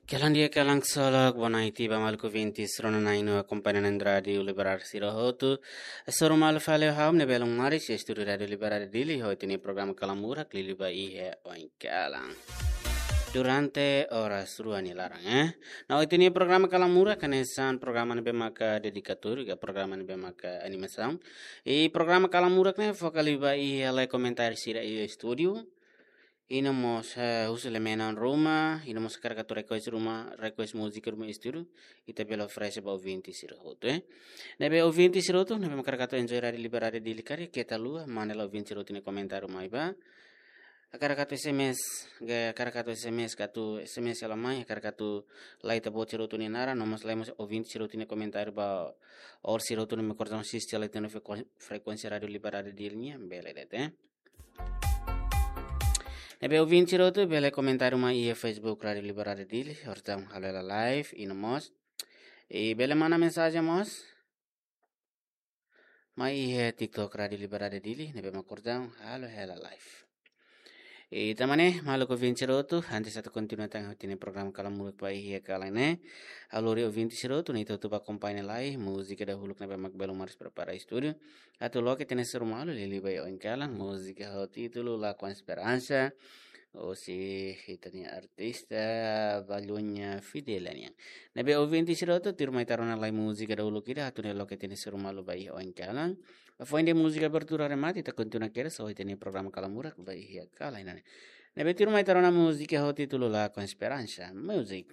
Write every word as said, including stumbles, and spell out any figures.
Kalan di'ak, kalan ksolok, boa noite ba maluk ouvintes rona na'in-neen akompaña iha Rádiu Liberdade sira hotu. Hasoru malu fali ho ha'u, Nebelo Maris, estúdiu Rádiu Liberdade Dili, ho ita-nia programa Kalan Murak, liuliu ba iha oin kalan. Durante oras rua nia laran, eh. No ita-nia programa Kalan Murak, hanesan programa ne'ebé maka dedikatóriu, ka programa ne'ebé maka animasaun. I programa Kalan Murak ne'e foka liu ba iha lai komentáriu sira iha estúdiu. I no mós, eh, husi ema ruma, i no mós hakarak atu request ruma, request múzika ruma estúdiu, ita bele oferese ba ouvinte sira hotu, eh. Ne'ebé ouvinte sira hotu, ne'ebé mak hakarak atu enjoy Rádiu Liberdade Dili karik, keta haluha, manda lai ouvinte sira hotu nia komentáriu mai ba. Hakarak atu S M S, ka hakarak atu S M S, ka atu S M S hela mai, hakarak atu lai ita-boot sira hotu nia naran, no mós lai mós ouvinte sira hotu nia komentáriu ba, orsida sira hotu ne'ebé mak kordon asiste lai ita-nia frekuen-, frekuénsia Rádiu Liberdade Dili nian, bele de'it, eh. Ne'ebé ouvinte sira hotu bele komentáriu mai iha Facebook Rádiu Liberdade Dili, kordon halo hela live, i no mós. I bele manda mensajen mós mai iha TikTok Rádiu Liberdade Dili, ne'ebé mak kordon halo hela live. I tanba ne'e, maluk ouvinte sira hotu, antes atu kontinua tan ho ita-nia programa Kalan Murak ba iha kalan ne'e, ha'u lori ouvinte sira hotu, ne'e ita hotu bá akompaña lai múzika dahuluk ne'ebé mak Belo Maris prepara estúdiu. Atu loke ita-nia hasoru malu, liuliu ba iha oin kalan, múzika ho títulu La Con Esperança, husi ita-nia artista Baluña Fidela nian. Ne'ebé ouvinte sira hotu, tuirmai ita rona lai múzika dahuluk ida, atu nune'e loke ita-nia hasoru malu ba iha oin kalan. Foin de'it múzika abertura remata, ita kontinua kedas ho ita-nia programa Kalan Murak ba iha kalan ne'e. Ne'ebé tuirmai ita rona múzika ho títulu La Con Esperança. Music.